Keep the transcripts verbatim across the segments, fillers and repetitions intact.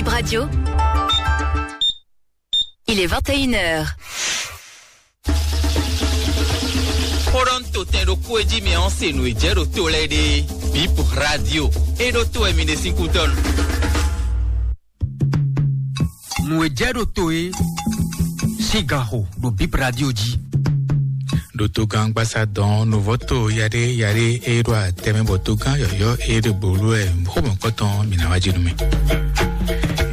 Radio. Il est vingt et une heures. Xó ɖɔ un to tɛn ɖokpó e jí mɛ ɔ́ se nǔ e jɛ ɖo to lɛ́ɛ ɖe. Bip Radio. E ɖo to wɛ mi ɖe sín kútɔ́nu. Nǔ e jɛ ɖo to e sín ganxo ɖo Bip Radio jí. Ɖo togán gbasa dɔn nuvɔto yaɖe yaɖe e ɖo atɛmɛ bɔ togán yɔyɔ e ɖe bolo wɛ xomɔkɔtɔn mi na wá jí nú mi.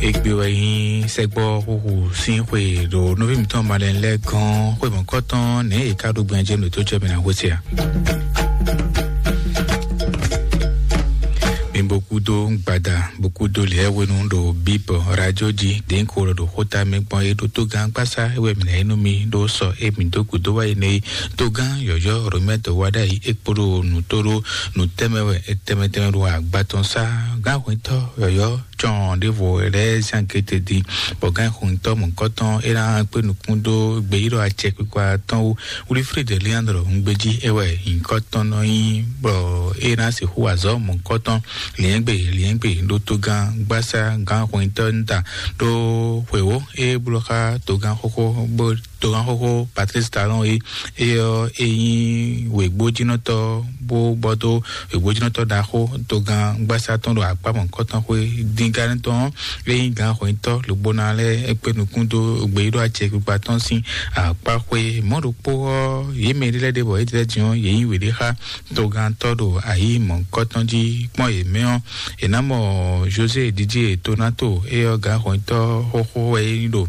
Egbe wɛ nyi sɛgbɔ xuxu sín xwe ɖo nɔví mitɔn malɛ lɛ gɔn xwe mɔkɔtɔn nɛ e ka ɖo gbɛn jɛ nɔ tó jɛ mi na xwe se a. Mi bokudo gbada bokudo lɛ wenu ɖo bibɔ radio ji den ko ɖo xota mi gbɔn e ɖo togán gbasa e wɛ mi na yi nú mi ɖo sɔ e mi dó gudo wá yi ne togán yɔyɔ romɛtɔ wá ɖa yi e kpo ɖo nǔ tó ɖo nǔ tɛmɛ wɛ e tɛmɛ tɛmɛ ɖo agba tɔn sá gán hwɛntɔ yɔyɔ cɔn ɖěvo lɛ́ɛ zán gete din, bɔ gán xɔntɔ́ mɔ̌kɔtɔn é ná kpé nukún dó gbeyíɖɔ acɛ kpikpa tɔn wú. Wilfred Leandro ŋgbéjí é wɛ nyǐkɔ tɔn nɔ nyí, bɔ é ná sixú azɔ̌ mɔ̌kɔtɔn liɛ́ngbè liɛ́ngbè ɖó togán gbásá gán xɔntɔ́ ńta ɖó xwěwó é bló xá togán xóxó bó togán xóxó Patrice Talon é, é ɔ́ é nyí wěgbójínɔtɔ́ bó bɔ dó wěgbójínɔtɔ́ ɖaxó togán gbásá tɔn ɖo akpá mɔ̌kɔtɔn xwé díngán tɔn é nyí gǎn xwětɔ́ lǒgbóná lɛ́ɛ é kpé nukún dó gbeyíɖɔ acɛ kpikpa tɔn sín akpá xwé. Mɔ̌ ɖokpó ɔ́, yě mɛ ɖé lɛ́ɛ ɖe bɔ é ɖlɛ́ din ɔ́, yě nyí wěɖé xá togantɔ́ ɖo ayǐ mɔ̌kɔtɔn jí kpɔ́n yě mɛ ɔ́, è nǎ mɔ José Didier Tonato, éyɔ́ gǎn xwětɔ́ xóxó wɛ é nyí ɖo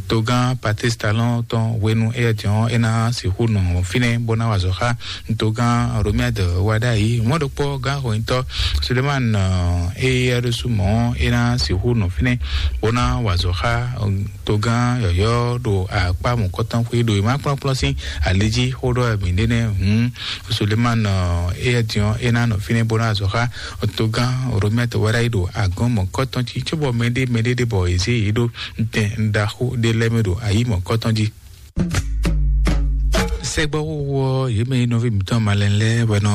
togán Patrice Talon tɔn hwenu éyɛ́ din ɔ́, é ná sixú nɔ fínɛ́ bó ná wa azɔ̌ xá togán Romuald Wadagni. Mɔ̌ ɖokpó gǎn xwětɔ́ Suleiman, éyɛ́ ɖésú mɔ̌ é ná sixú nɔ fínɛ́ bó ná wa azɔ̌ xá togán yɔ̌yɔ́ ɖo akpá mɔ̌kɔtɔn xwé ɖo e má kplɔ́nkplɔ́n sín ali jí xó ɖɔ mǐ ɖe nɛ́ hǔn Suleiman, éyɛ́ din ɔ́ é ná nɔ fínɛ́ bó ná azɔ̌ xá togán Romuald Wadagni ɖo agɔ̌n mɔ̌kɔtɔn jí, cóbɔ mɛɖé mɛɖé ɖé bɔ è zě yě ɖó tɛn ɖaxó ɖé lɛ́ɛ mɛ ɖo ayǐ mɔ̌kɔtɔn jí. Sɛgbɔxóxó ɔ́, yě mɛ e nɔví mǐtɔn malɛn lɛ́ɛ wɛ nɔ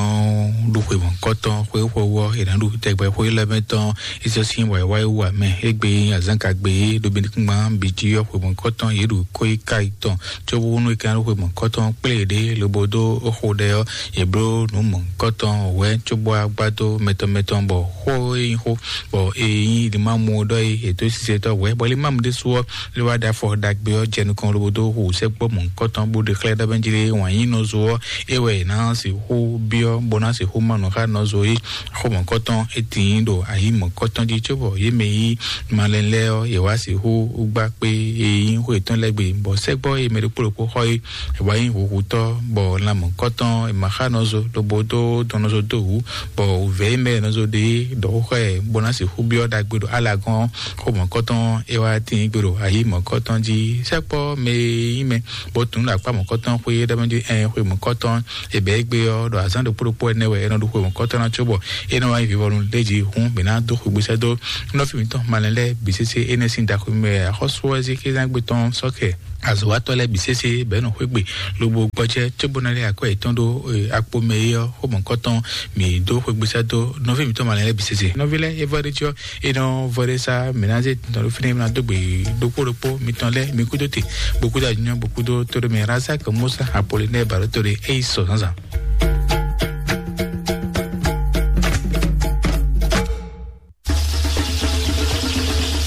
ɖo xwe mɔ̌kɔtɔn xwé xwɔwú ɔ́, è nǎ ɖo tɛgbɛ xwé lɛ́ɛ mɛ tɔn Ísɔ́ sín wǎyíwáyí wú ǎ mɛ. Égbé azǎngagbe e ɖo binukúngban bǐ jí ɔ́, xwe mɔ̌kɔtɔn yě ɖo kó yi ká yi tɔn, cóbónú è ka nɔ xwe mɔ̌kɔtɔn kplé yěɖée lobo dó xo ɖɛ ɔ́, yě bló nǔ mɔ̌kɔtɔn wɛ̌ cóbó wá gbá dó mɛtɔn mɛtɔn, bɔ xó e nyí xó, bɔ è nyí Elimamu ɖɔ é è dó sisɛtɔ́ wɛ̌, bɔ Elimamu ɖésú ɔ́ lé wá ɖo afɔ ɖagbe ɔ́ jɛ nukɔn lobo dó hu sɛ́kpɔ́ mɔ̌kɔtɔn bó ɖe xlɛ́ ɖɔ bɛ́ jí lé wǎn nyí nɔzo ɔ́, é wɛ è nǎ sixú byɔ́ bó ná sixú má nǔ xá nɔzo é. Xó mɔ̌kɔtɔn é tíin ɖo ayǐ mɔ̌kɔtɔn jí cóbɔ yě mɛ yí malɛn lɛ́ɛ ɔ́, yě wá sixú gbá kpé e nyí xó yětɔn lɛ́ɛ gbe, bɔ sɛ́gbɔ́ e mɛ ɖokpó ɖokpó xɔ é, è wá nyí huhutɔ́, bɔ lan mɔ̌kɔtɔn è ma xá nɔzo lobo dó dɔn nɔzo dó wǔ, bɔ wǔvɛ́ e mɛ nɔzo ɖe é ɖɔ xó xá ɛ bó ná sixú byɔ́ ɖagbe ɖo alagɔ́n xó mɔ̌kɔtɔn é wá tíin gbe ɖo ayǐ mɔ̌kɔtɔn jí. Sɛ́kpɔ́ mɛ e nyí mɛ bó tunú ɖo akpá mɔ̌kɔtɔn xwé é ɖɔ mɛ jí ɛn xwe mɔ̌kɔtɔn è bɛ̌ égbé ɔ́, ɖɔ azǎn ɖokpó ɖokpó ɛnɛ wɛ é nɔ ɖo xwe mɔ̌kɔtɔn ná cóbɔ é nɔ wá nyí vivɔnu lé jí hǔn mǐ ná dó xwegbe sɛ́ dó nɔví mǐtɔn malɛn lɛ́ɛ bǐ sésé énɛ́ sín ɖaxó mɛ axɔ́sú ɔ́ zé xézán gbe tɔn sɔ́kɛ azɔ̌watɔ́ lɛ́ɛ bǐ sésé bɛ̌ nɔ xwé gbe lobo gbɔjɛ́ cóbó ná lé akwɛ́ yětɔn ɖó akpo mɛ é ɔ́, xó mɔ̌kɔtɔn mǐ dó xwegbe sɛ́ dó nɔví mǐtɔn malɛn lɛ́ɛ bǐ sésé. Nɔví lɛ́ɛ é vɔ ɖé jí ɔ́, é nɔ vɔ ɖé sá mǐ ná zé tɔn ɖó fínɛ́ mǐ ná dó gbe ɖokpó ɖokpó mitɔn lɛ́ɛ mi kúdó te bó kúdó anyɔ bó kúdó tóɖó mɛ Razak Musa Apollinaire Barotore é yi sɔ zǎnzǎn.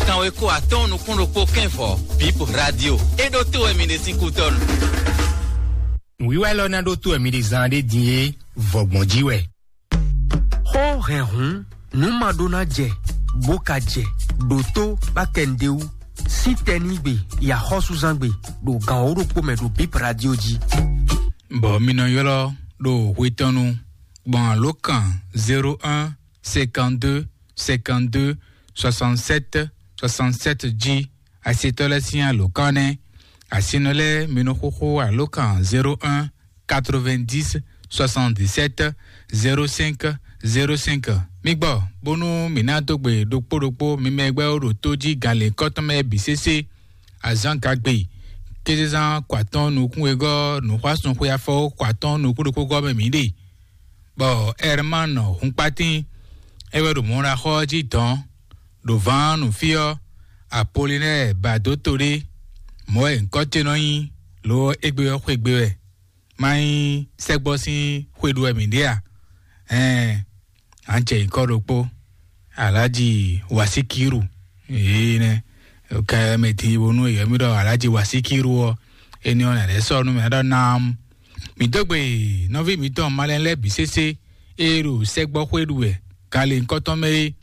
Kanwe ko atɔn nukún ɖokpó kɛnfɔ Bip Radio. É ɖó tó wɛ mi ɖe sín kútɔnu. Wíwá lɔ ná ɖó tó wɛ mi ɖe zan ɖé din é vɔgbɔn jí wɛ. Xó hɛn hǔn nǔ ma ɖó ná jɛ bó ka jɛ ɖo tó bá kɛ nɖé wú sí tɛnígbe yi axɔ́súzángbe ɖo gan wǒ ɖokpó mɛ ɖo Bip Radio jí. Bɔ mi nɔ ylɔ́ ɖo hwetɔnu gbɔn alǒkan zéro un cinquante-deux cinquante-deux soixante-sept soixante-sept jí. Asitɔ lɛ́ɛ sín alǒkan nɛ́. Asinɔ lɛ́ɛ mi nɔ xóxó alǒkan zéro un quatre-vingt-dix soixante-dix-sept zéro cinq zéro cinq. Mi gbɔ bónú mǐ ná dó gbe ɖokpó ɖokpó mi mɛ gbɛ́ ɖo tó jí gan lěkɔ́tɔn mɛ bǐ sésé. Azǎn gagbe kézezán kɔ atɔ́n nukún wegɔ́ nǔxwásúnxwe afɔ kɔ atɔ́n nukún ɖokpó gɔ́ mɛ mǐ ɖe. Bɔ Ɛrmán Hunkpatín é wɛ ɖo mɔ̌ ɖo axɔ́ jí dɔ̌n ɖo vǎn nǔ fí ɔ́, Apolinɛ́ɛ ba dó to ɖé, mɔ̌ wɛ nyǐkɔ ce nɔ nyí, lo ɔ́, égbé ɔ́ xwegbe wɛ, má nyí sɛ́gbɔ́ sín xwe ɖu wɛ mǐ ɖe a? Ɛɛn, à ń jɛ nyǐkɔ ɖokpó, Alhaji Wasikiru, yě nɛ́. Kɛ mɛ din bónú yě mí ɖɔ Alhaji Wasikiru ɔ́, éní ɔ́ nɛ̌ lɛ́ sɔ́ nú mɛ ɖɔ nam. Mǐ dó gbe nɔví mǐtɔn malɛn lɛ́ɛ bǐ sésé, ée ɖo sɛ́gbɔ́ xwé ɖu wɛ, gan lě nyǐkɔ tɔn mɛ é,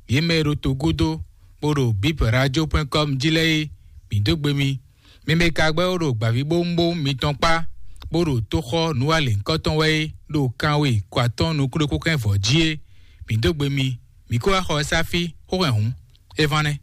yě mɛ e ɖo togúdo, bó ɖo bip radio point com jí lɛ́ɛ é, mǐ dó gbe mi. Mi mɛ ka gbɛ́ bó ɖo gbǎvíbówúnbówún mitɔn kpá, bó ɖo tóxɔ nǔwalěnkɔ́tɔn wɛ é, ɖo kanwe kɔ atɔ́ɔ́n nukúnɖékúnkɛ́n vɔ̌ jí é, mǐ dó gbe mi. Mǐ kó wá xɔ ɛ sá fí, xó hɛn hǔn, é ván nɛ́.